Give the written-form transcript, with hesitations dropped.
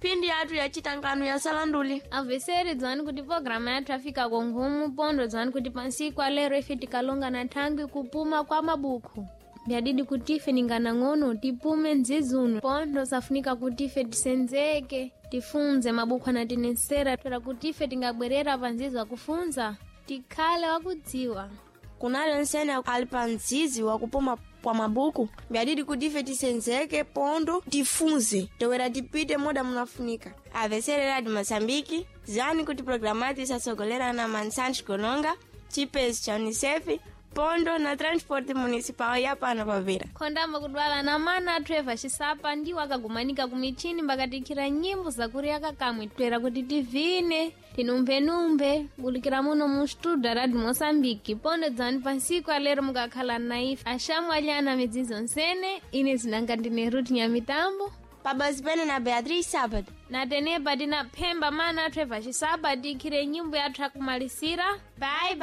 Mphindi yathu ya chitangano ya salanduli. Aveseri, dzwani kuti programa yathu afika kongomu pondo. Dzwani kuti pansiku alero ife tikalonga na thangwi kupuma kwa mabuku. Byadidi kuti ife ninganang'ono tipume nzizuno pondo safunika kuti ife tisenzeke, tifunze mabuku anatinesera toera kuti ife tingabwerera pa nzizi wakufunza tikhale wakudziwa. Kunali onsene ali pa mzizi wakupuma kwa mabuku, byadidi kuti ife tisenzeke pondo tifunze towera tipite moda munafunika. Avesere Radio Moçambique, zani kuti programa yathu isatsogolera na Mansancho Gononga, chipesi cha UNICEF pondo na Transport Municipal ya pano pavira. Khondamba kudwala na mana athu Eva Xisapa ndiwo akagumanika ku michini mbakatikhira nyimbo zakuriyaka kamwe toera kuti tivine tinumphenumpe bulikira muno mu studio Radio Moçambique. Pondo dzani pansiku alero mukakhala na ife axamu alyana midzidzo nsene. Ine zinanga ndine Ruth Nyamitambo. Pabazi pene na Beatriz Sábado. Na tenepa tinaphemba mana athu Eva Xisapa tikhire nyimbo yathu akumalisira. Bye bye.